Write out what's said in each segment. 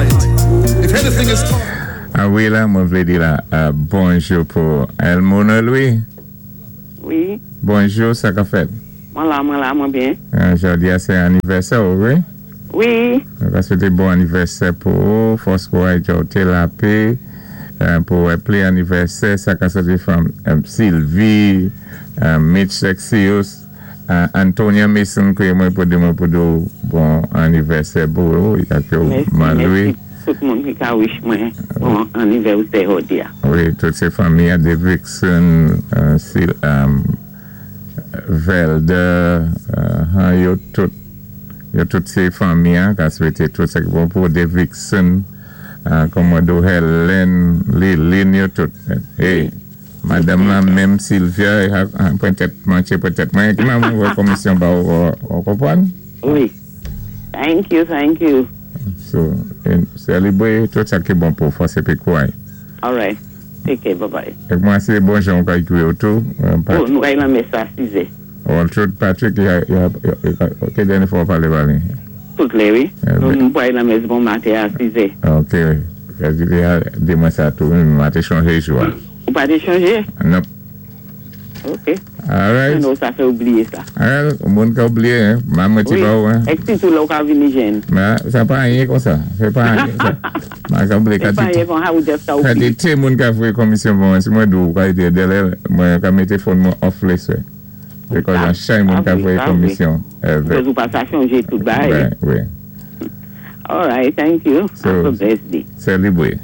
Fight. If anything is taught. A wi la, mwen vlé di la bonjou pou Elmona Louis. Wi. Bonjou, sa ka fèt? Mwen la, mwen la, mwen byen. Jòdi a sé anivèsè ou, wi? Wi. Nou ka swété bon anivèsè pou ou, fòs kouray djòwté lapé pou wè pli anivèsè, sa ka soti from Sylvie, Mitch Sexius, Antonia Mason kwiyé mwen pou di mwen pou di ou bon anivèsè pou ou, ak yo Mèsi, Malwi. mèsi tout moun ki ka wish mwen bon anivèsè jòdi a. Wi, tout sé fanmi a Davidson, Sil, Velder, yo tout sé fanmi an ka swété tout sa ki bon pou Davidson, Komodo Helen, Lilin, yo tout. Hey, madanm lan menm Sylvia, pwentèt manché pwentèt mwen, ki mwen wè komisyon ba ou, ou konpwann? Wi. Thank you, thank you. So, selebré tout sa ki bon pou fòs épi kouray. All right. Take care, bye-bye. Ek mwen sé bon jan ou ka ekri ou tou. Oh, nou kay lan mès a 6 Well, tout Patrick, ya, ki dènyé fwa ou palé ba li? Tout lè, wi. Nou pway lan mès bon maten a 6. Ok, di mwen sa tou, mwen te chanje jou a. Ou pa te chanje? Nope. Ok. All right. Nou sa fè oubliye sa. All, moun ka oubliye, hein. Ma mwen ti Wi. Ba ou, hein. Ek si tou lè ou ka vini jen. Ma, sa pa anyen kon sa. Se pa anyen sa. Ma ka oubliye Se pa kantité. anyen kon ha ou def ka oubliye. Kantité moun ka voyé komisyon pou mwen. Si mwen dou, ka ite dèlè, mwen ka mété phone mwen off lè. Because an chay moun ka voyé komisyon. Because ou pa sa chanje tout bay. Ben, wi. All right, thank you. So, Have a blessed day. Selebré.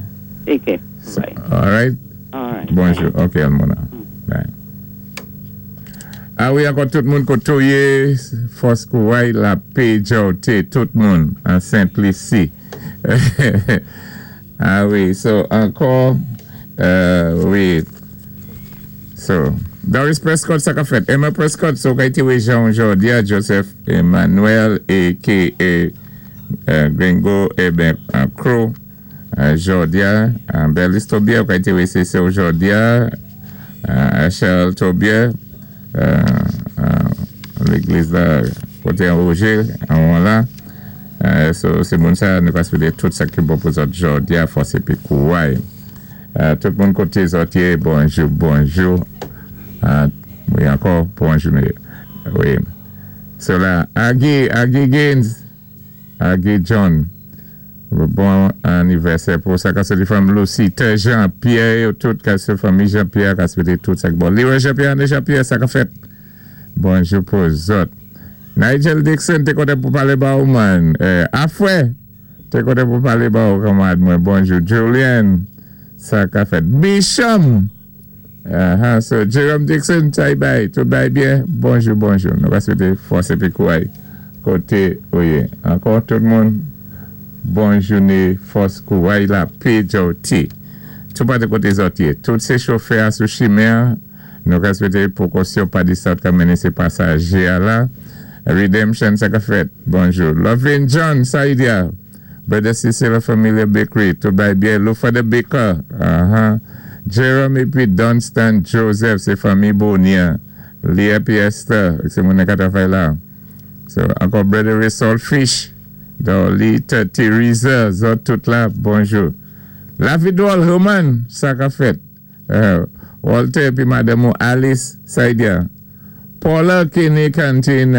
Take care. Bye. All right. All right. Bonjou. Ok, Almona. Bye. A wi, ankò tout moun kotoye, fòs kouray, lapé, djòwté, tout moun an Saint-Lucie. A wi, so ankò, wi. So, Doris Prescott, sa ka fèt. Emma Prescott, so ka iti wè Jean Jordia, Joseph Emmanuel, a.k.a. Gringo, eh ben, Crow, Jordia, Berlis Tobier, ka iti wè se se Jordia, Charles Tobier, légliz la, koté an Roger, an la. So, sé moun sa, nou ka swété tout sa ki bon pou zòt jòdi a, fòs épi kouray. Tout moun koté zòt yé, bonjou, bonjou. Wi, ankò, bonjou. Wi. So la, Aggie, Aggie Gaines, Aggie John, bon anivèsè pou sa ka soti fanm Lucy, Jean, Pierre, yo tout ka se fanmi Jean-Pierre, ka swété tout sa ki bon. Leroy Jean-Pierre, André Jean-Pierre, sa ka fèt. Bonjou pou zòt. Nigel Dixon, té kontan pou palé ba ou man. Afwè, té kontan pou palé ba ou kanmad mwen. Bonjou. Julian, sa ka fèt. Bisham, so Jerome Dixon, sa y bay, tout bay byen. Bonjou, bonjou. Nou va swété fòs épi kouray koté ou yé. Ankò tout moun, bon jouné, fòs kouray lapé djòwté. Tout pa de koté zòt yé. Tout sé chofè a sou chimen, nou ka swété pwékosyon pa di sa ka mennen sé pasajé a la. Redemption, sa ka fèt. Bonjou. Lovin John, sa y di a. Brother Cecil Familia Bakery, tout bay byen. Lufa the Baker, Jerome épi Dunstan Joseph, sé fanmi Bonia. Lia pi Esther, sé moun ka travay la. So, ankò Brother Resol Fish, Dolita Teresa, zòt tout la, bonjou. La Vidol Herman, sa ka fèt. Walter pi madanm Alice, sa y di a. Paula Kenny Canteen,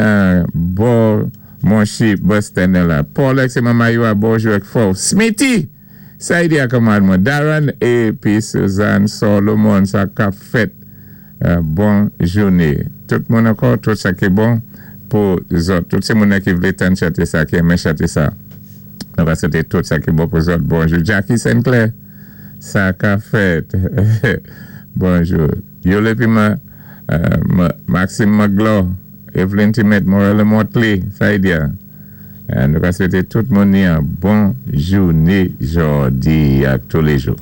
bo Monchi bus stand la. Paula sé manman yo a bonjou ak fò. Smithy, sa y di a kanmad mwen. Darren épi Suzanne Solomon, sa ka fèt. Bon jouné. Tout moun ankò, tout sa ki bon pou zòt. Tout sé moun ki vlé tann chanté sa, ki renmen chanté sa. Nou va swété tout sa ki bon pou zòt. Bonjou. Jackie Sinclair, sa ka fèt. Bonjou. Yole pi ma, Maxime Maglo, Evelyn Timet, Morel Motley, sa y di a. Nou va swété tout moun ni an bon jouné jòdi ak tous les jours.